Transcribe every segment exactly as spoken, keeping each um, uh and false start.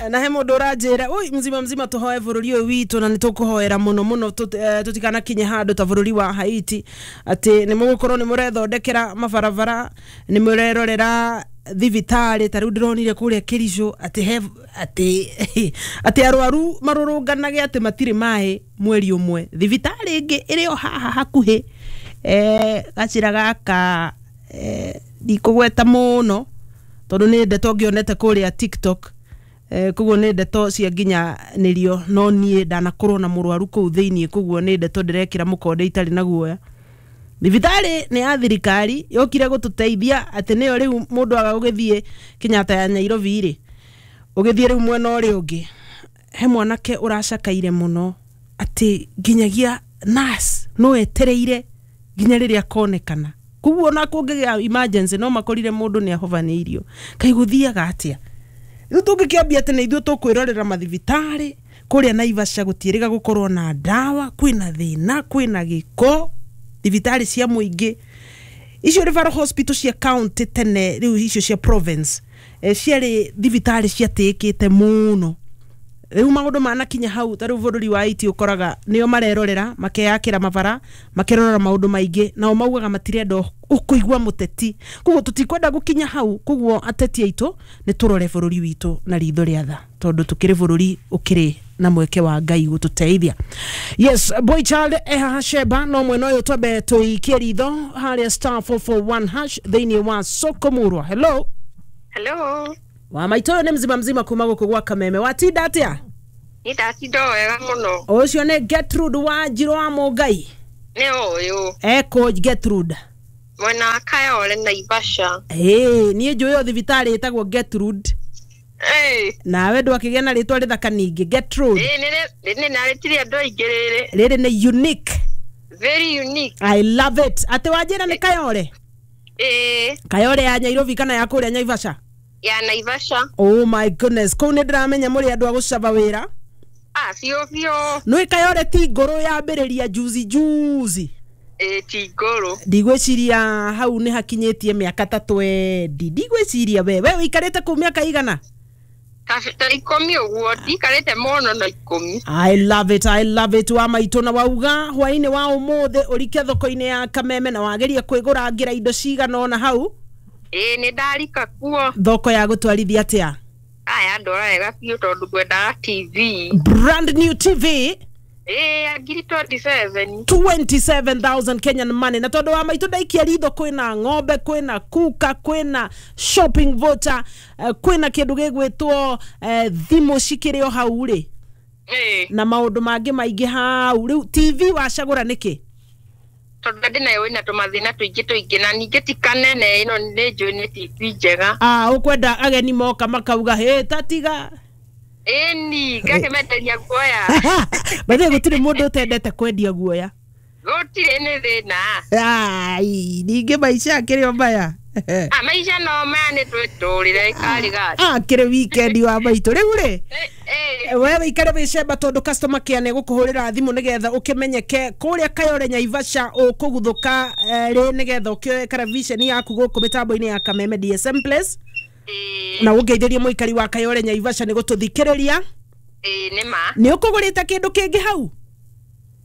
Na he mũndũ ũranjĩra ui mzima mzima tũhoe bũrũri ũyũ witũ, na nĩ tũkũhoera mũno mũno tũtikanakinye handũ ta bũrũri wa Haiti, atĩ nĩ mũgũkorwo nĩ mũrethondekera mabarabara, nĩ mũrerorera thibitarĩ. Ta rĩu ndĩronire kũrĩa Kericho atĩ he atĩ atĩ arwaru marũrũnganage atĩ matirĩ maĩ mweri ũmwe. Thibitarĩ ĩngĩ ĩrĩ o haha hakuhĩ, eh, gacĩra gaka, eh, ndikũgweta mũno tondũ nĩ ndeto ngĩonete kũrĩa TikTok, eh, koguo nĩ ndeto cia nginyanĩrio, no niĩ ndanakorwo na mũrwaru kũu thĩiniĩ, koguo nĩ ndeto ndĩrekĩra mũkonde itarĩ na guoya. Thibitarĩ nĩ ya thirikari yokire gũtũteithia atĩ nĩyo rĩu mũndũ aga gũgĩthiĩ Kenyatta ya Nairobi rĩ, ũgĩthiĩ rĩu mwena ũrĩa ũngĩ, he mwanake ũracakaire mũno atĩ nginyagia nurse no etereire nginya rĩrĩa akonekana. Koguo ona kũngĩgĩa emergency no makorire mũndũ nĩ ahovanĩirio. Kaĩ gũthiaga atĩa? Rĩu tũngĩkĩambia atĩ nĩ ithuĩ tũkwĩrorera mathibitarĩ kũrĩa Naivasha, gũtiĩrĩga gũkorwo na ndawa, kwĩna thĩna, kwĩna gĩko thibitarĩ cia mũingĩ icio referral hospital cia county tene, rĩu icio cia province, eh, ciarĩ thibitarĩ ciatĩĩkĩte mũno. Rĩu maũndũ manakinya hau, ta rĩu bũrũri wa Haiti ũkoraga nĩo marerorera, makeyakĩra mabara, makerorera maũndũ maingĩ, nao maugaga matirenda ũkũigua mũteti. Koguo tũtikwenda gũkinya hau. Koguo ateti aitũ nĩ tũrore bũrũri witũ na ritho rĩa tha, tondũ tũkĩrĩ bũrũri ũkĩrĩ na mweke wa Ngai gũtũteithia. Yes, boy child ehaha Sheba, no mwena ũyũ twambe tũikie ritho harĩa star four four one hash thĩinĩ wa Soko Murwa. Hello. Hello. Wa maitũ, ũyũ nĩ mzima mzima kuma gũkũ gwa Kameme. Watinda atĩa? Nĩ ndatinda wega mũno. Ũcio nĩ Gertrude wa Njirũ wa Mũngai. Nĩ ũyũ. Eko Gertrude? Mwena wa Kayole, Naivasha. Ĩĩ, niĩ njũĩ o thibitarĩ ĩtagwo Gertrude. Ĩĩ. Nawe ndwakĩgĩa na rĩtwa rĩthaka ningĩ Gertrude. Ĩĩ, nĩ nĩ narĩtirie andũ aingĩ rĩrĩ. Rĩrĩ nĩ unique. Very unique. I love it. Atĩ wanjĩra nĩ Kayole? Ĩĩ. Kayole ya Nairobi kana ya kũrĩa Naivasha? Ya Naivasha. Oh my goodness, kũu nĩ ndĩramenya mũrĩ andũ a gũcaba wĩra. Ah, biũ biũ. Nĩ Kayole ti ngũrũ yambĩrĩria juzi juzi? Ĩĩ, ti ngũrũ. Ndigwĩciria hau nĩ hakinyĩtie mĩaka ta twendi. Ndigwĩciria. we we ũikarĩte kũu mĩaka igana? Ta ikũmi ũguo, ndikarĩte mũno no ikũmi. I love it, I love it. Wa maitũ, na wauga hwainĩ wa ũmũthĩ ũrike thoko-inĩ ya Kameme na wageria kwĩgũrangĩra indo cigana ũna hau. Ĩĩ, nĩ ndarika kuo. Thoko ya gũtwarithia atĩa? Aya, ndora wega biũ tondũ ngwendaga T V. Brand new T V? Ĩĩ, ya ngiri twenty-seven. twenty-seven thousand Kenyan money. Na tondũ wa maitũ ndaikia ritho, kwĩna ng'ombe, kwĩna kuka, kwĩna shopping voucher, uh, kwĩna kĩndũ gĩgwĩtwo uh, thimũ cikĩrĩ o hau rĩ, Ĩĩ. na maũndũ mangĩ maingĩ hau. Rĩu T V wacagũra nĩkĩ? Tondũ ndĩ nayo ĩna tũmathĩna tũingĩ tũingĩ, na ningĩ ti kanene ĩno, nĩ njũĩ nĩ T V njega. Ah, ũkwenda ageni moka makauga hĩ tatiga. Ĩni ngakĩmenderia guoya. Bathe gũtirĩ mũndũ ũtendete kwendia guoya. Gũtirĩ nĩ thĩna. Ai, ningĩ maica akĩrĩ o maya. Ah, maica no maya, nĩ twĩtũrĩre karĩ gati. Akĩrĩ weekend wa maitũ rĩu rĩ, Ĩĩ. we wĩikare wĩcemba tondũ customer care nĩ gũkũhũrĩra thimũ nĩgetha ũkĩmenyeke kũrĩa Kayole Naivasha ũkũguthũka eh, rĩ, nĩgetha ũkĩoe karaviceni yaku gũkũ mĩtambo-inĩ ya Kameme D S M Place. Ĩĩ. Na ũngeithĩrie mũikari wa Kayole Naivasha nĩ gũtũthikĩrĩria. Ĩĩ, nĩ ma. Nĩ ũkũgũrĩte kĩndũ kĩngĩ hau?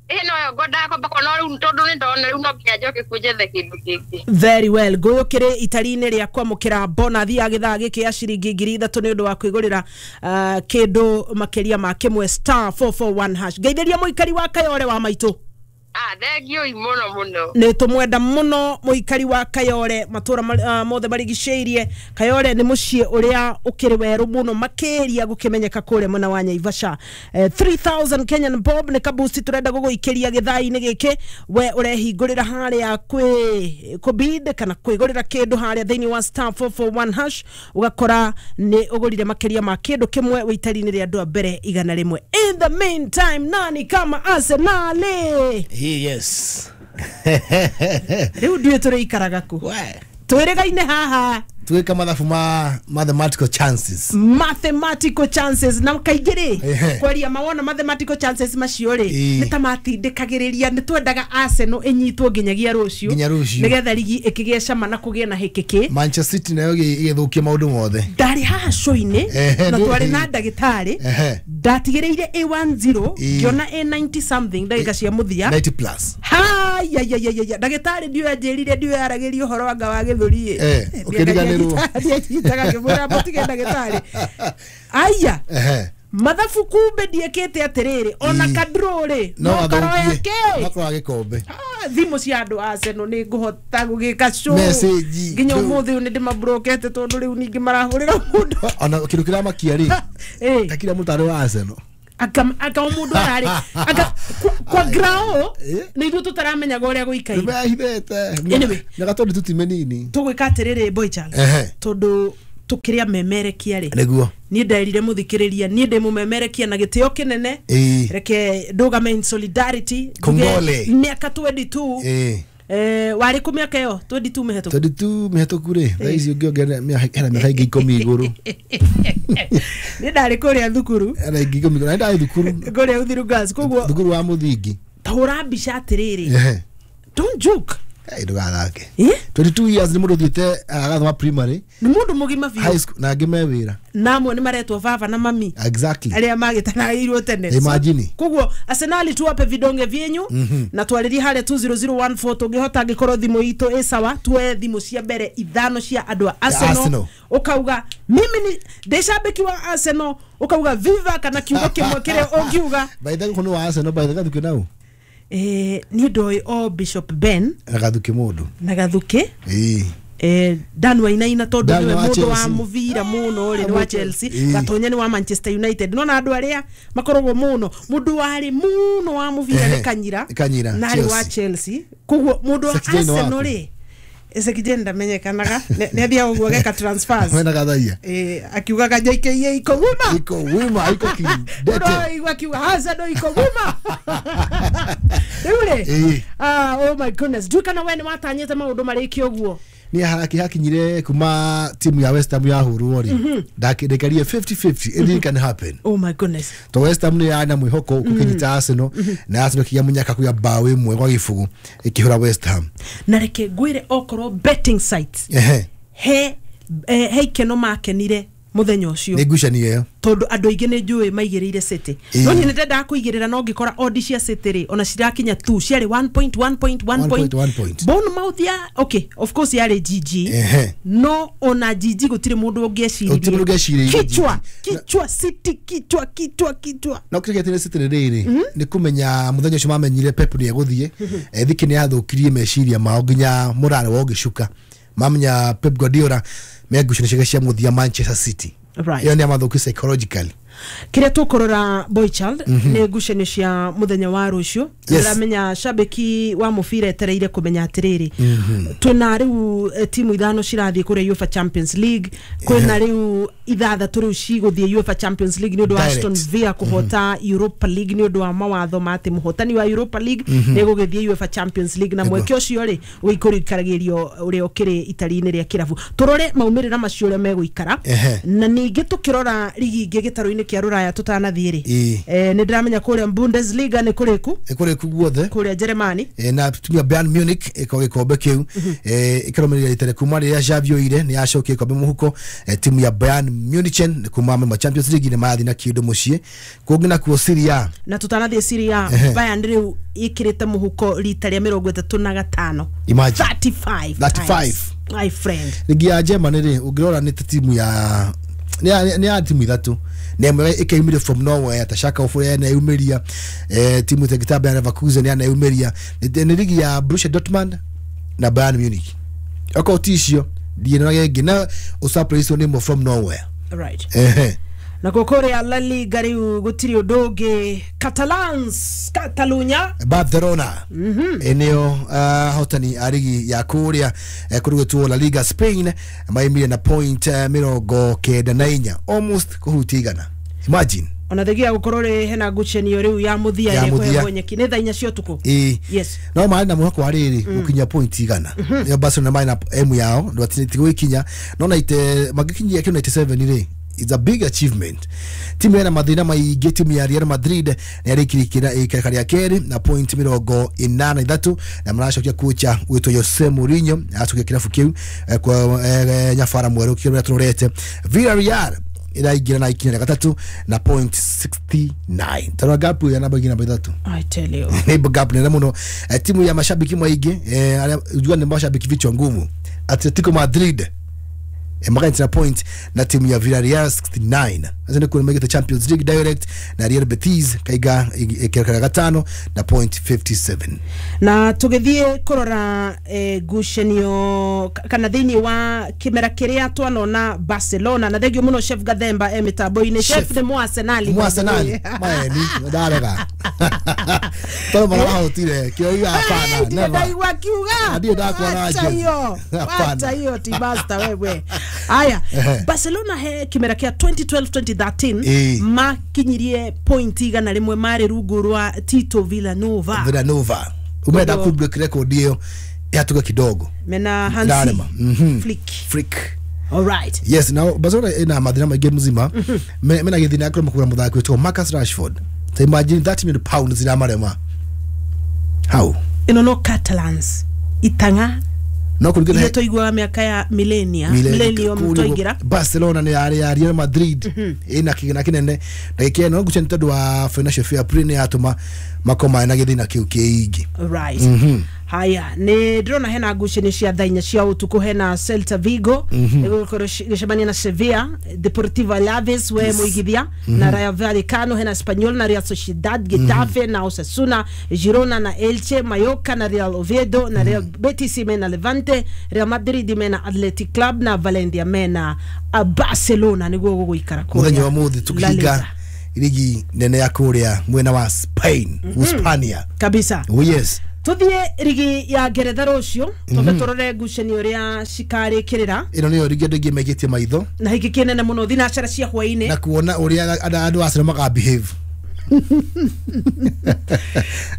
Ĩĩ, noyo ngwendaga kwamba kuona rĩu, tondũ nĩ ndona rĩu no nginya njoke kuu njethe kĩndũ kĩngĩ. Very well. Ngũyũkĩrĩ itari-inĩ rĩa kwamũkĩra bonathi ya gĩthaa gĩkĩ ya ciringi ngiri ithatũ nĩ ũndũ wa kwĩgũrĩra uh, kĩndũ makĩria ma kĩmwe star four four one hash. Ngeithĩria mũikari wa Kayole, wa maitũ. Ah, thengiũi mũno mũno. Nĩ tũmwenda mũno mũikari wa Kayole, matũra uh, mothe marigicĩirie. Kayole nĩ mũciĩ ũrĩa ũkĩrĩ werũ mũno makĩria gũkĩmenyeka kũrĩa mwena wa Naivasha. eh, three thousand Kenyan bob nĩ kabusti tũrenda gũgũikĩria gĩthaa-inĩ gĩkĩ. We ũrehingũrĩra harĩa kwĩ kũbid kana kwĩgũrĩra kĩndũ harĩa thĩinĩ wa star four four one hash, ũgakora nĩ ũgũrire makĩria ma kĩndũ kĩmwe wĩitari-inĩ rĩa andũ a mbere igana rĩmwe. In the meantime, nani kama Arsenal? Yes. Rĩu ndiũĩ tũrĩikaraga kũ. We. Twĩrĩgaine haha. Tuweka mathabu ma mathematical chances. Mathematical chances na kaingĩ rĩ Ehe. kwaria mawona mathematical chances macio rĩ Ĩĩ. nĩ ta matindĩkagĩrĩria nĩ twendaga Arsenal ĩnyitwo nginyagia rũciũ Nginya rũciũ. nĩgetha rigi ĩkĩgĩe cama na kũgĩe na hĩkĩkĩ. Manchester City nayo ĩgĩthũkia maũndũ mothe. Ndarĩ haha show-inĩ Ehe, na nĩ- twarĩ na ndagĩtarĩ Ehe. ndatigĩrĩire A ten Ĩĩ. ngĩona A ninety something ndagĩka cia mũthia. ninety plus. Hayayayaya, ndagĩtarĩ ndiũĩ anjĩrire ndiũĩ aragĩria ũhoro wanga wa gĩthũri. Eh, ũkĩriganĩrwo. Ndianyitaga ngĩmwĩra mũtige ndagĩtarĩ aya. Ehe. Mathabu kumbe ndiĩkĩte atĩrĩrĩ ona Ĩĩ. kadro rĩ No no karoya athũkie. kĩ. No karoya gĩkombe. Ah, thimũ cia andũ a Arsenal nĩ ngũhota gũgĩka show Message. nginya ũmũthĩ ũyũ nĩ ndĩmabrokete tondũ rĩu ningĩ marahũrĩra mũndũ. Ona kĩndũ kĩramakia rĩ Eh, ta kira mũtarĩ wa Arsenal. aka aka o mũndũ ararĩ aka kwa, kwa grao Eh. nĩ ithuĩ tũtaramenyaga ũrĩa gũikaire. Nĩmehithĩte. Anyway. Mĩaka tondũ tu ti mĩnini. Tũgwĩka atĩrĩrĩ, boy Charles, Ehe. tondũ tũkĩrĩa memerekia rĩ, Nĩguo. niĩ nderire mũthikĩrĩria niĩ ndĩ mũmemerekia na gĩtĩo kĩnene. Ĩĩ. Reke ndũgame in solidarity njuge Kongole. mĩaka mĩrongo ĩĩrĩ na ĩĩrĩ. Ĩĩ. Eh, warĩ kũ mĩaka ĩyo mĩrongo ĩĩrĩ na ĩĩrĩ mĩhetũku? mĩrongo ĩĩrĩ na ĩĩrĩ mĩhetũku rĩ, thaa ici ũngĩongerera mĩaka hena mĩaka ĩngĩ ikũmi igũrũ. Niĩ ndarĩ kũrĩa thukuru. Hena ĩngĩ ikũmi igũrũ na ndarĩ thukuru. Kũrĩa Uthiru Girls, koguo thukuru wa mũthingi. Tahũra mbica atĩrĩrĩ. Ehe. Don't joke. Ĩ, ndũgathake. Eh? twenty-two years nĩ mũndũ ũthiĩte agathoma primary, nĩ mũndũ mũgima biũ. High school na angĩ me wĩra. Na amwe nĩ maretwo baba na mami. Exactly. Arĩa magĩtanagĩirwo tene. Imagine. Koguo Arsenal, tuwape vidonge vyenyu na twarĩrie harĩa two zero zero one four tũngĩhota angĩkorwo thimũ itũ ĩ sawa tuoe thimũ cia mbere ithano cia andũ a Arsenal. Arsenal. Ũkauga mimi ni ndĩ shabiki wa Arsenal, ũkauga viva kana kiugo kĩmwe kĩrĩa ũngiuga. By the way, nĩ wa Arsenal by the way nau? Eh, niĩ ndoĩ o Bishop Ben. Na Gathuki mũndũ. Na Gathuki. Ĩĩ. Eh, Dan Wainaina tondũ Dan nĩwe wa mũndũ wa Chelsea. mũbira mũno rĩ nĩ wa Chelsea. Ĩĩ. Gatonya nĩ wa Manchester United, nona andũ arĩa makoragwo mũno mũndũ warĩ mũno wa mũbira nĩ Ehe, Kanyira. Kanyira, na arĩ wa Chelsea. Chelsea, koguo mũndũ wa Sekijeni Arsenal waku. rĩ, Sekijeni ndamenyekanaga nĩ athiaga ũguo ageka transfers. Wena gathaia. Eh, akiugaga J K A iko wima. Iko wima, iko kidete. Ũraigua akiuga Arsenal iko wima rĩu rĩ. Ĩĩ. Ah, oh my goodness, ndiũĩ kana we nĩ watanyĩte maũndũ marĩkie ũguo. Nĩ haraki hakinyire kuma timu ya West Ham yahũrwo rĩ, ndakarie fifty fifty, anything can happen. Oh my goodness. To West Ham nĩ yana mwĩhoko kũkĩnyita Arsenal na Arsenal kĩgĩa mũnyaka kuya bao ĩmwe gwa gĩbũgũ ĩkĩhũra West Ham. Na reke ngwĩre okorwo betting sites Ehe. he eh, he ikeno makenire mũthenya ũcio. Nĩ ngucanio ĩyo. Tondũ andũ aingĩ nĩ njũĩ maigĩrĩire City. Ĩĩ. No niĩ nĩndendaga kũigĩrĩra no ngĩkora odd cia City rĩ ona cirakinya tu ciarĩ one point one point one point. One point. Bournemouth ya okay, of course yarĩ G G. Ehe. No ona G G gũtirĩ mũndũ Gũtirĩ mũndũ ũngĩecirĩirie. ũngĩecirĩirie G G. kichwa kichwa City, kichwa kichwa kichwa. No kĩrĩa gĩatĩre City nĩ rĩrĩ nĩ kũmenya mũthenya ũcio mamenyire Pep nĩ egũthiĩ thiki nĩ yathũkirie meciria mao nginya mũrare wa ũgĩcuka mamenya Pep Guardiola me ngucanio ciake cia mũthia Manchester City. Right. Ĩyo nĩ amathũki psychologically. Kĩrĩa tũkũrora, boy child, nĩ ngucanio cia mũthenya wa rũciũ. Yes. Ndĩramenya shabiki wa mũbira etereire kũmenya atĩrĩrĩ twĩna rĩu eh, timu ithano cirathiĩ kũrĩa UEFA Champions League, kwĩna rĩu ithathatũ rĩu cigũthiĩ UEFA Champions League nĩ ũndũ wa Direct. Aston Villa kũhota Europa League nĩ ũndũ wa mawatho ma atĩ mũhotani wa Europa League nĩ egũgĩthiĩ UEFA Champions League na mweke ũcio rĩ ũikũrĩkaragĩrio ũrĩa ũkĩrĩ itari-inĩ rĩa kĩrabu. Tũrore maumĩrĩra macio ũrĩa megũikara. Ehe. Na ningĩ tũkĩrora rigi ingĩ gĩtarũ-inĩ kĩa rũraya tũtanathiĩ rĩ, Ĩĩ. eh, nĩ ndĩramenya kũrĩa Bundesliga nĩ kũrĩku. Nĩ kũrĩku guothe. Kũrĩa Jeremani. Eh, na timu ya Bayern Munich ĩko gĩkombe kĩu eh, ĩkarũmĩrĩra rita rĩa kuma rĩrĩa Xavi oire nĩ yacokia gĩkombe mũhuko. eh, timu ya Bayern Munich nĩ kuma ma Champions League nĩ marathiĩ na kĩndũ mũciĩ kũngĩ nakuo Serie A. Na tũtanathiĩ Serie A, Ehe. Bayern rĩu ĩkĩrĩte mũhuko rita rĩa mĩrongo ĩtatũ na gatano. Imagine. thirty-five thirty-five. times, my friend. Ligi ya Germany rĩ, ũngĩrora nĩ ta timu ya nĩ ya- nĩ ya timu ithatũ na ĩmwe ĩkaumĩria from nowhere ta Schalke oh four yaneyumĩria, eh, timu ta gĩtamba ya Leverkusen yaneyumĩria. nĩ nĩ ligi ya Borussia Dortmund na Bayern Munich. Okorwo ti icio ndiĩnoga ĩngĩ na ũsurprise nĩ ĩmwe from nowhere. Right. Ehe. Na kũrĩa La Liga rĩu gũtirĩ ũndũ ũngĩ, Catalans, Catalunya. Barcelona nĩo ahotani a rigi ya kũrĩa eh, kũrĩ gwĩtwo La Liga Spain, maimire na point eh, mĩrongo kenda na inya, almost kũhutia igana, imagine. Ona thengia gukorwo ri hena ngucanio riu ya muthia Ya ĩrĩa mũthia. ĩkũheagwo nyeki nĩ thaa inya cia ũtukũ. Ĩĩ. Yes. No marĩ na mwĩhoko wa rĩrĩ gũkinyia point igana. Ĩyo Barcelona marĩ na M yao ndwatigũikinya no na ite mangĩkinyia kĩu ninety-seven rĩ, it's a big achievement. Timu ĩna mathĩna maingĩ, timu ya Real Madrid nĩ yarĩkirie ikereka rĩa kerĩ na point mĩrongo ĩnana ithatũ, na maracokia kocha gwĩtwo Jose Mourinho acokia kĩrabu kĩu eh, kwa eh, nyabara mwerũ kĩrĩa tũrorete. Villarreal ĩraingĩra na ikinya rĩa gatatũ na point sixty-nine, tarora gap ya namba igĩrĩ namba ithatũ. I tell you. Nĩ gap nene mũno. Eh, timu ya mashabiki maingĩ, eh, arĩa ujua nĩ mashabiki vichwa ngumu, Atletico Madrid eh, magaitira point na timu ya Villarreal sixty-nine, acio nĩ kuona maigĩte Champions League direct, na Real Betis kaiga ikereka rĩa gatano na point fifty-seven. Na tũgĩthiĩ kũrora eh, ngucanio ka- kana thĩinĩ wa kĩmera kĩrĩa twanona Barcelona, na thengio mũno Chef Gathemba e mĩtambo-inĩ. Chef nĩ Mwarsenali. Mu Arsenal maeni ndarega tondũ marahotire kĩo hapana, never. Ndaigua akiuga. Ndirĩ ndakuona Wacha jezi. hiyo. Hapana. Wacha hiyo tibasta wewe. Aya, Ehe. Barcelona he kĩmera kĩa twenty twelve twenty thirteen Ĩĩ. makinyirie point igana rĩmwe marĩ rungu rwa Tito Villanova. Villanova umenda ku break record ĩyo yatuga kidogo. Mena Hansi Ndarema. Mhm. Flick. Flick. All right. Yes, now Barcelona ina mathina maingĩ mzima. Me- mena gĩthina kũrema kũgũra mũthaki wĩtagwo Marcus Rashford. So imagine thirty million pounds iramarema how. Ĩno no Catalans itang'a No kũringana iria twaiguaga mĩaka ya millennia millennium kũu nĩguo twaingĩra. Barcelona nĩ yarĩ ya Real Madrid ĩna kĩgĩna kĩnene na gĩkĩno no ngucia nĩ tondũ wa financial fair play nĩ yatũma makorwo na gĩthĩna kĩu kĩingĩ. Right, haya, nĩ ndĩrona hena ngucanio cia thaa inya cia ũtukũ, hena Celta Vigo ĩgũkorwo ĩgĩcemania na Sevilla, Deportivo Alaves we mũigithia na Rayo Vallecano, hena Espanyol na Real Sociedad, Getafe na Osasuna, Girona na Elche, Mallorca na Real Oviedo, na Real Betis mena Levante, Real Madrid mena Athletic Club, na Valencia mena uh, Barcelona. Nĩguo gũgũikara kũrĩa Mũthenya wa mũthĩ La tũkĩhinga Liga. rigi nene ya kũrĩa mwena wa Spain, Uhispania. Kabisa. Oh yes. Tuthie rigi ya Ngeretha rũciũ, twambe tũrore ngucanio ũrĩa cikarĩkĩrĩra. Ĩno nĩyo rigi andũ aingĩ maigĩtie maitho. Na hiki kĩnene mũno thinacara cia hwaĩ-inĩ. Na kuona ũrĩa andũ andũ a Arsenal maka behave.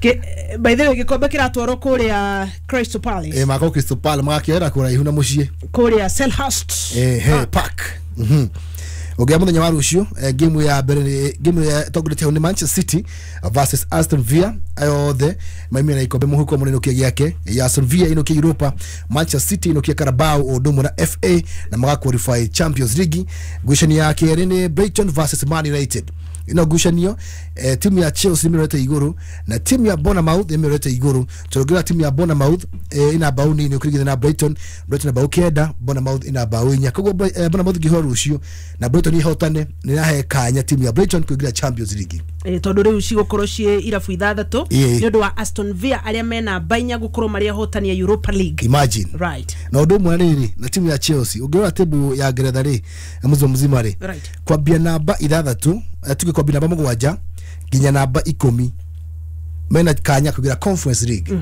Kĩ- by the way, gĩkombe kĩratwarwo kũrĩa Crystal Palace. Eh, makorwo Crystal Palace magakĩoera kũraihu na mũciĩ. Kũrĩa Selhurst. Eh, he Park. Mhm. Ũngĩa mũthenya wa rũciũ, eh, game ya mbere nĩ game ya tongoretie hau nĩ Manchester City versus Aston Villa. Ayo othe maimire na ikombe mũhuko mũnene ũkia gĩake ya Aston Villa ĩnũkia Europa, Manchester City ĩnũkia Carabao ũndũ ũmwe na F A na maga qualify Champions League. Ngucanio ya kerĩ nĩ Brighton versus Man United. Ino ngucanio, eh, timu ya Chelsea nĩmĩrorete igũrũ na timu ya Bournemouth nĩmĩrorete igũrũ, tondũ ũngĩrora timu ya Bournemouth eh, ina bao nini ũkĩringithania na Brighton. Brighton ina bao kenda, Bournemouth ina bao inya. Koguo Bri- eh, Bournemouth ĩngĩhũra rũciũ na Brighton ihotane, nĩrahe kanya timu ya Brighton kũingĩra Champions League. Eh, tondũ rĩu cigũkorwo ciĩ irabu ithathatũ Ĩĩ. nĩ ũndũ wa Aston Villa arĩa mena mbainya gũkorwo marĩ ahotani a Europa League. Imagine. Right. Na ũndũ ũmwe rĩrĩ na timu ya Chelsea, ũngĩrora timu ya Ngeretha rĩ mzima mzima rĩ, Right. kwambia namba ithathatũ, eh, tuge kwambia namba mũgwanja nginya namba ikũmi mena kanya kugira Conference League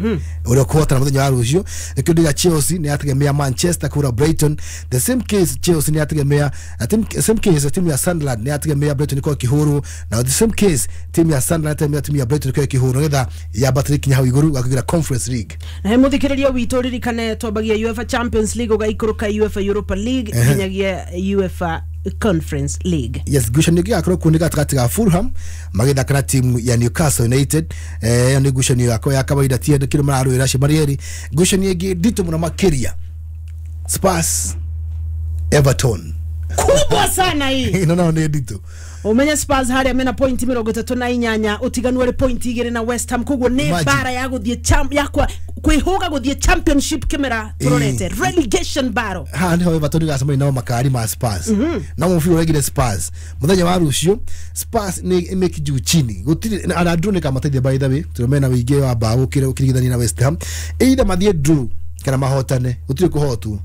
uria kuhotana muthenya wa rucio. Nikio ndiga Chelsea ni yategemea Manchester kura Brighton, the same case Chelsea ni yategemea uh, team, same case timu ya Sunderland ni yategemea Brighton kwa kihuru, na the same case timu ya Sunderland yategemea timu ya Brighton kwa kihuru ngetha yambatĩre kinya hau iguru gwa kugira Conference League. Na he muthikiriria witũ, ririkane twambagia UEFA Champions League, ũgaikũrũka UEFA Europa League, nginyagia UEFA Conference League. Yes, ngucanio ĩngĩ ĩgakorwo kuo nĩ gatagatĩ ga Fulham magĩthaka na timu ya Newcastle United. Eh, ĩyo nĩ ngucanio yakwa ya kawaida, ti andũ kĩndũ mararũĩra acio marĩ erĩ. Ngucanio ĩngĩ nditũ mũno makĩria, Spurs Everton. Kubwa sana hii. Ĩno nayo nĩ nditũ. Umenye Spurs harĩa mena point mĩrongo ĩtatũ na inyanya, ũtiganu ũrĩ point igĩrĩ na West Ham, koguo nĩ Imagine. bara ya gũthiĩ champ- ya kwa- kwĩhũga gũthiĩ Championship kĩmera tũrorete relegation battle. Haha niho Everton igacemania nao makari ma Spurs na mũbira ũregire Spurs mũthenya wa rũciũ. Spurs nĩ ĩmĩki juu chini, gũtirĩ ana draw nĩ kamateithia, by the way, tondũ mena wĩingĩ wa mbaũ ũkĩrĩ- ũkĩringithania na West Ham. Either mathiĩ draw kana mahotane, gũtirĩ kũhotwo,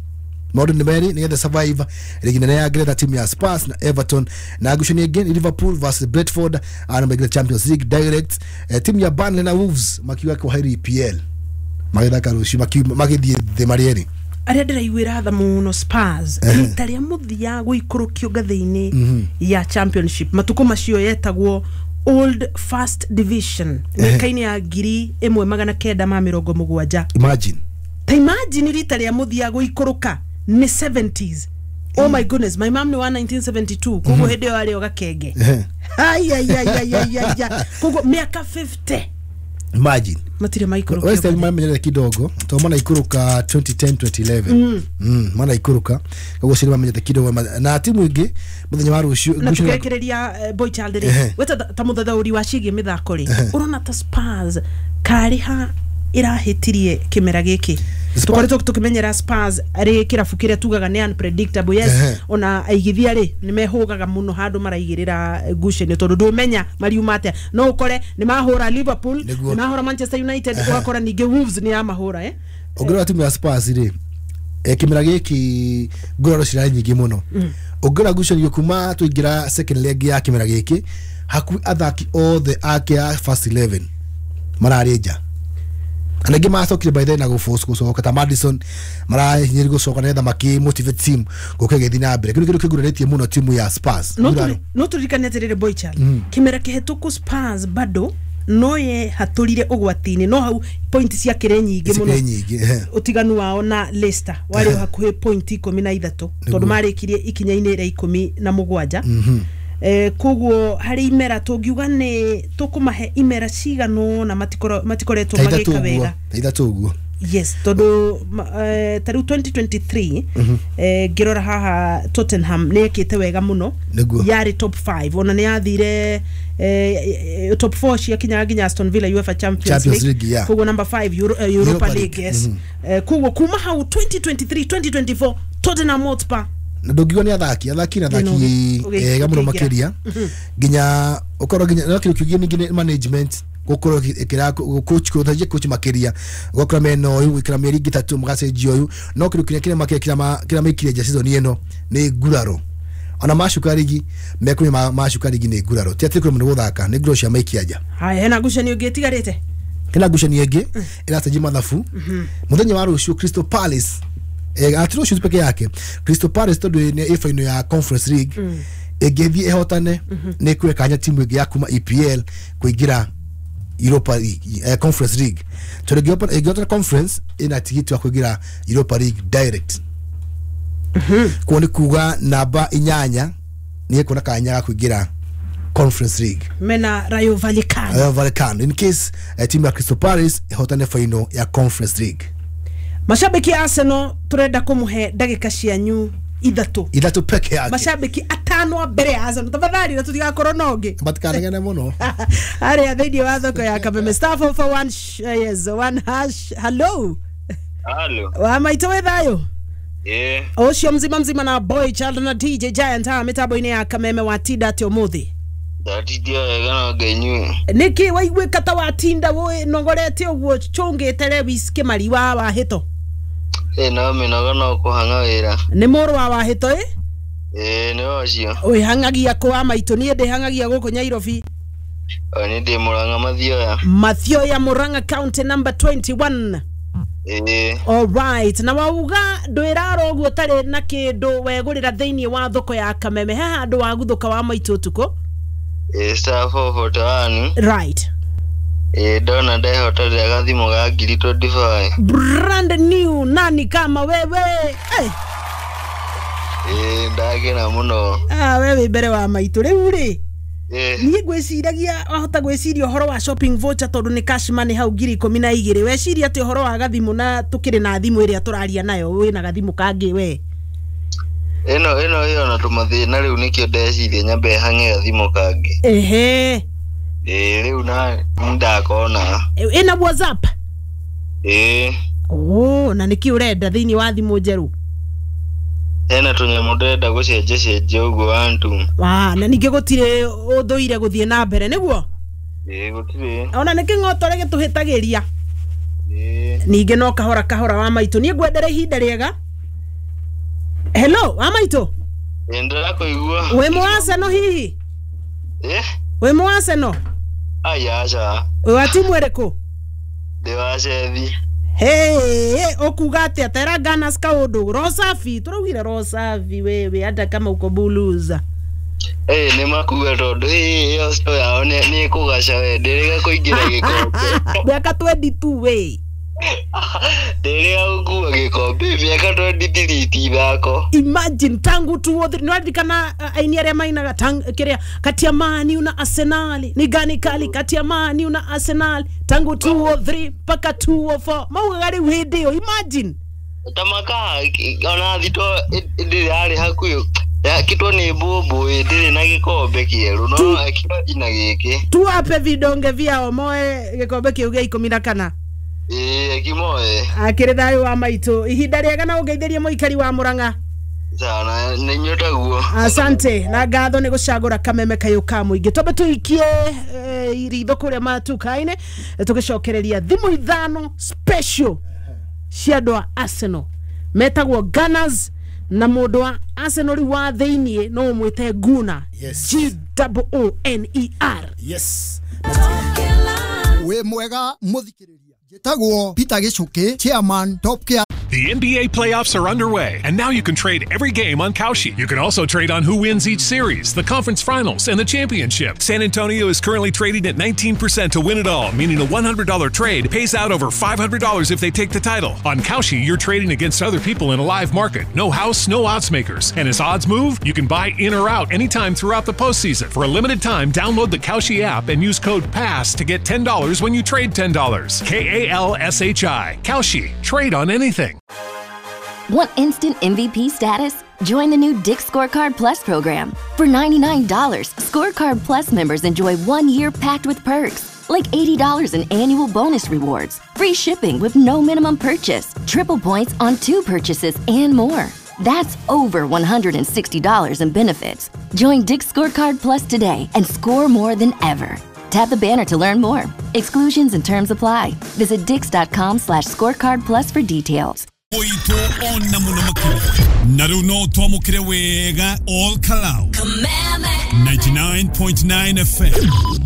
maũndũ nĩ merĩ nĩgetha survive rigi nene ya Ngeretha, timu ya Spurs na Everton. Na ngucanio ĩngĩ nĩ Liverpool versus Brentford, ana maingĩra Champions League direct. eh, timu ya Burnley na Wolves makiuga kwa E P L magĩthaka rũciũ, makiuma- magĩthiĩ thĩ marĩ erĩ. Arĩa ndĩraiguĩra tha mũno Spurs, rita rĩa mũthia gũikũrũkio ngathĩ-inĩ ya Championship, matukũ macio yetagwo Old First Division, mĩaka-inĩ ya ngiri ĩmwe magana kenda ma mĩrongo mũgwanja. Imagine. Ta imagine rita rĩa mũthia gũikũrũka nĩ seventies. Oh my goodness, my mom nĩ wa nineteen seventy-two, koguo hĩndĩ ĩyo arĩ o gakenge. Ehe. Aiaiaiaiaia, koguo mĩaka fifty Imagine. matirĩ maikũrũkio. West Ham mamenyerete kidogo to mana ikũrũka twenty ten twenty eleven, mm mana ikũrũka, koguo cio mamenyerete kidogo ma- na timu ingĩ mũthenya wa rũciũ. Na ngucanio- tukerekereria, boy child rĩ, Ehe. we ta ta mũthathaũri wa ciĩgiĩ mĩthako rĩ, ũrona ta Spurs karĩ ha ĩrahĩtirie kĩmera gĩkĩ? Spurs- Tũkoretwo tũkĩmenyera Spurs arĩ kĩrabu kĩrĩa tugaga nĩ unpredictable, yes. Ehe. Ona aigithia rĩ, nĩ mehũgaga mũno handũ maraigĩrĩra ngucanio, tondũ ndũmenya mariuma atĩa. No ũkore nĩ mahũra Liverpool, Nĩguo. nĩ mahũra Manchester United, ũgakora ningĩ Wolves nĩ yamahũra, eh? Ũngĩrora timu ya Spurs rĩ, eh, kĩmera gĩkĩ nguraro cirarĩ nyingĩ mũno. Ũngĩrora ngucanio kuma tũingĩra second leg ya kĩmera gĩkĩ, hakuhĩ athaki othe ake a first eleven mararĩ nja, na aingĩ macokire by then na gũforce gũcoka, ta Madison marahinyĩrĩrio gũcoka nĩgetha makĩ motivate team gũka ĩgĩthiĩ na mbere. Kĩu nĩ kĩndũ kĩgurarĩtie mũno timu ya Spurs. No Nguraro. tũri- no tũririkane atĩrĩrĩ, boy child, kĩmera kĩhetũku Spurs bado no yehatũrire ũgwati-inĩ, no hau point ciakĩrĩ nyingĩ mũno. Cikĩrĩ nyingĩ, ehe. Ũtiganu wao na Leicester warĩ o hakuhĩ point ikũmi na ithatũ, tondũ marĩkirie ikinya-inĩ rĩa ikũmi na mũgwanja. Eh, koguo harĩ imera tũngiuga nĩ tũkũmahe imera cigana ũna matikoro- matikoretwo Ta ithatũ magĩka ũguo. wega. Ta ithatũ ũguo. Yes, tondũ ma- eh, ta rĩu twenty twenty-three, eh, ngĩrora haha, Tottenham nĩ ĩkĩte wega mũno. Nĩguo. Yarĩ top five, ona nĩ yathire eh, eh, top four, ciakinyaga nginya Aston Villa UEFA Champions, Champions League, yeah. Koguo number five Euro, eh, Europa Europa League. League. Yes. Eh, koguo kuma hau twenty twenty-three twenty twenty-four Tottenham Hotspur Na ndũngiuga nĩ athaki athaki na athaki Thĩna ũgĩ- ega mũno ũkĩingĩra. Makĩria nginya ũkorwo nginya no kĩndũ kĩngĩ ningĩ nĩ management gũkorwo ĩkĩra coach, gũtharia coach makĩria, ũgakora mena ũyũ gwĩkĩra mĩeri ĩngĩ ĩtatũ magacenjia ũyũ. No kĩndũ kĩrĩa kĩrĩa makĩria kĩrĩa ma- kĩrĩa maikire nja season ĩno nĩ nguraro. Ona macuka rigi mekũmenya ma- macuka rigi nĩ nguraro, ti atĩ kũrĩ mũndũ gũthaka, nĩ nguraro cia maikia nja. Haya, hena ngucanio ĩngĩ ĩtigarĩte? Hena ngucanio ĩngĩ ĩracenjia mathabu mũthenya wa rũciũ. Crystal Palace, eh, ati rũciũ peke yake, Crystal Palace tondũ nĩ ĩ final ya Conference League, ĩngĩthiĩ ĩhotane nĩ ĩkũhe kanya timu ĩngĩ ya kuma E P L kũingĩra Europa League, eh, Conference League, tondũ ĩngĩhotana ĩngĩhotana Conference ĩna tigiti wa kũingĩra Europa League direct. Kuo nĩ kuga namba inyanya nĩ ĩkuona kanya ga kũingĩra Conference League. Mena Rayo Vallecano. Rayo Vallecano, in case eh, timu ya Crystal Palace ĩhotane final ya Conference League. Mashabiki a Arsenal, turenda kumuhe ndagĩka cianyu ithatũ. Ithatũ peke yake. Mashabiki atano a mbere ya Arsenal, tafadhali, na tutigakorwo na ũngĩ. Matikanegene mũno. Harĩa thĩinĩ wa thoko ya Kameme, star four four one sh- yes, one hash. Hello. Halo. Wa maitũ, wĩ thayũ? Eh, Ũcio mzima mzima na boy child na D J Giant haha mĩtambo-inĩ ya Kameme. Watinda atĩa ũmũthĩ? Ndatindia wega no ngenyue. Nĩkĩ waiguĩka ta watinda wĩ nogorete ũguo cũngĩte Lewis Kĩmari wa Wahĩto? Eh, no mĩnogo no kũhang'a wĩra. Nĩ mũrũ wa Wahĩto ĩ? Eh, nĩ ũcio. Wĩhang'agia kũ wa maitũ? Niĩ ndĩhang'agia gũkũ Nyairobi. O nĩ ndĩ Mũrang'a Mathioya. Mathioya, Murang'a County, number twenty-one. Eh, Alright, na wauga ndwĩrara ũguo ũtarĩ na kĩndũ wegũrĩra thĩinĩ wa thoko ya Kameme. He handũ waguthũka wa maitũ ũtukũ? Eh, star four forty-one. Right. Eh, ndona ndehotera gathimũ ga ngiri twenty-five. Brand new, nani kama wewe, hey. Eh, ndakena mũno. Ah, we wĩ mbere wa maitũ rĩu rĩ. Eh, niĩ ngwĩciragia wahota gwĩciria ũhoro wa shopping voucher, tondũ nĩ cash money hau ngiri ikũmi na igĩrĩ. Weciria atĩ ũhoro wa gathimũ na tũkĩrĩ na thimũ ĩrĩa tũraria nayo, wĩna gathimũ kangĩ we? Ĩno ĩno ĩyo na tũmathĩna rĩu, nĩkĩo ndeciria nyambe hang'e gathimũ kangĩ. Ehe. Eh, rĩu na ndakona. Ĩna WhatsApp? Eh, oh, na nĩkĩ ũrenda thĩinĩ wa thimũ njerũ? Hena tũnyamũ ndĩrenda gũcenjia cenjia ũguo wantu. Wa, na ningĩ gũtirĩ ũthũire gũthiĩ na mbere nĩguo? Eh, gũtirĩ. Ona nĩ kĩng'otore gĩtũhĩtagĩria. Eh, ningĩ no kahora kahora wa maitũ, niĩ ngwendera ihinda rĩega. Hello, wa maitũ. Eh, ndĩrakũigua. Wĩ mũ Arsenal hihi? Eh, Wĩ mũ Arsenal? Ai aca. Wĩ wa timu ĩrĩkũ? Ndĩ wa Cethi. Hey, okuga atia tera Gunners kaundu Rosafi turaugire Rosafi wewe hata kama uko buluza. Eh ni makuga tondu iyo sto yao ni ni kugaca we ndirega kuingira gikombe. Miaka twenty-two we. Ndirega gukua gikombe miaka twenty-three ti ithako. Imagine tangu two oh three nwaririkana aini aria mainaga tang kiria kati ya Man U na Arsenal ni gani kali kati ya Man U na Arsenal tangu two oh three mpaka two oh four maugaga riu hindi iyo imagine tamaka ona thito ndiri yari hakuhi ya kitwo ni mbumbu ndiri na gikombe kieru no ekina giki tuwape vidonge vyao moe gikombe kiu gia ikumi na kana ii kimoe akiri thayu wa maitu ihinda riega na ungeithirie muikari wa Murang'a sana ni nyotaguo asante na ngatho ni gucagura kameme kayu ka muingi twambe tuikie ritho kuria matukaine tugicokereria thimu ithano special cia andu a Arsenal metagwo Gunners na mundu wa Arsenal riu wa thiini no umwite Gunner. Yes. G O O N E R. Yes. We mwega muthikiriria njitagwo Peter Gichuki, chairman Top Care. The N B A playoffs are underway, and now you can trade every game on Kalshi. You can also trade on who wins each series, the conference finals, and the championship. San Antonio is currently trading at nineteen percent to win it all, meaning a one hundred dollar trade pays out over five hundred dollars if they take the title. On Kalshi, you're trading against other people in a live market. No house, no odds makers. And as odds move, you can buy in or out anytime throughout the postseason. For a limited time, download the Kalshi app and use code PASS to get ten dollars when you trade ten dollars. K A L S H I. Kalshi. Trade on anything. Want instant M V P status? Join the new Dick's Scorecard Plus program. For ninety-nine dollars, Scorecard Plus members enjoy one year packed with perks, like eighty dollars in annual bonus rewards, free shipping with no minimum purchase, triple points on two purchases, and more. That's over one hundred sixty dollars in benefits. Join Dick's Scorecard Plus today and score more than ever. Tap the banner to learn more. Exclusions and terms apply. Visit dicks.com slash scorecard plus for details. Oito ona muno makuru naru no twamukire wega all Kalau ninety-nine point nine F M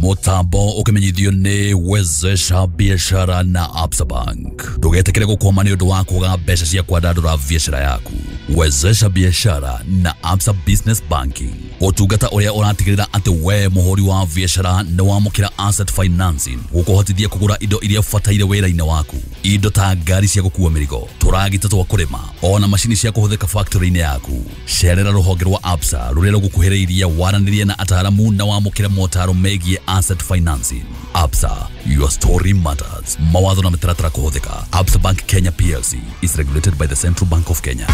mutambo ukimenyithio ni wezesha biashara na Absa Bank. Ndugetikire gukwama ni undu wa kuga mbeca cia kwandandura biashara yaku. Wezesha biashara na Absa Business Banking, utungata uria uratigirira ati we muhuri wa biashara ni wamukira asset financing gukuhotithia kugura indo iria ubataire wira-ini waku, indo ta ngari cia gukua mirigo, turagita twa kurima, ona macini cia kuhuthika factory-ini yaku. Cerera ruhonge rwa Absa ruria rugukuhiriirie waranirie na ataramu na wamukire motaro megie asset financing. Absa, your story matters. Mawatho na mitaratara kuhuthika. Absa Bank Kenya P L C is regulated by the Central Bank of Kenya.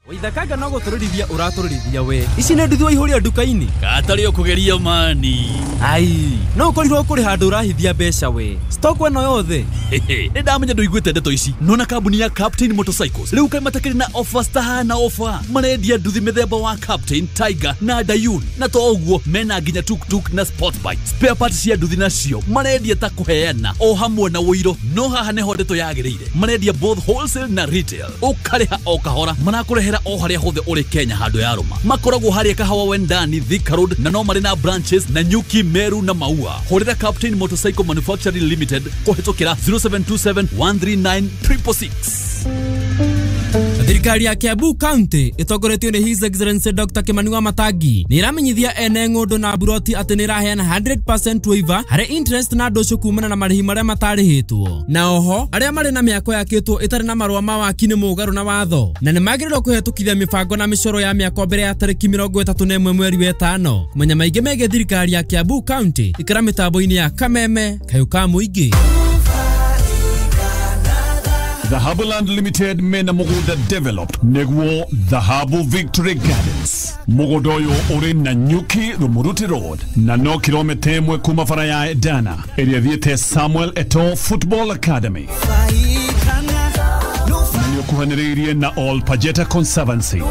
Waithakaga no gũtũrĩrithia ũratũrĩrithia we ici nĩ nduthi waihũria nduka-inĩ katarĩ ũkũgeria mani ai no ũkorirwo kũrĩ handũ ũrahithia mbeca we stock ĩno yothe nĩ ndamenya ndũiguĩte ndeto ici nona kambuni ya Captain Motorcycles rĩu kaĩ matakĩrĩ na offers tahana offer marendia nduthi mĩthemba wa Captain, Tiger na Dayun na to ũguo mena nginya tuktuk na sport bike spare parts cia nduthi nacio marendia ta kũheana o hamwe na ũiro no haha nĩho ndeto yagĩrĩire marendia both wholesale na retail ũkarĩha o kahora marakũrehera o haria hothe uri Kenya handu ya ruma makoragwo haria Kahawa Wendani, Thika Road na no mari na branches na Nyuki, Meru na Maua. Horera Captain Motorcycle Manufacturing Limited kuhetokera zero seven two seven one three nine triple six. Thirikari ya Kiambu County ĩtongoretio nĩ His Excellency Doctor Kimani Wamatangi nĩ ĩramenyithia ene ng'ũndũ na mburoti atĩ nĩ ĩraheana one hundred percent waiver harĩ interest na ndũcũ kumana na marĩhi marĩa matarĩhĩtwo na oho arĩa marĩ na mĩako yakĩtwo ĩtarĩ na marũa ma waki nĩ mũgarũ na watho na nĩ magĩrĩirwo kũhetũkithia mĩbango na mĩcoro ya mĩako mbere ya tarĩki mĩrongo ĩtatũ na ĩmwe mweri wa ĩtano. Kũmenya maingĩ megiĩ thirikari ya Kiambu County ikara mĩtambo-inĩ ya Kameme Kayũ ka Mũingĩ. Dhahabu Land Limited mena mugunda developed neguo Dhahabu Victory Gardens mugunda uyu uri na Nyuki Rumuruti Road na no kilomita imwe kuma bara ya Dana ĩrĩa thiĩte Samuel Eto'o Football Academy na nĩũkuhanĩrĩirie na All Pajeta Conservancy.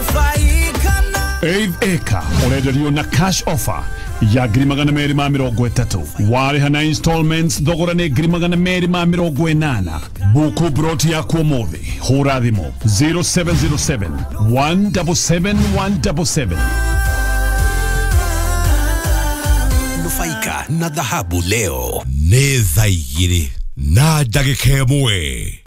Eighth acre ũrenderio na cash offer ya ngiri magana merĩ ma mĩrongo ĩtatũ warĩha na installments thogora nĩ ngiri magana merĩ ma mĩrongo ĩnana. Buku broti yaku ũmũthĩ hũra thimũ zero seven zero seven one seven seven one seven seven. Nufaika na dhahabu leo nĩ thaa igĩrĩ Na ndagĩka ĩmwe.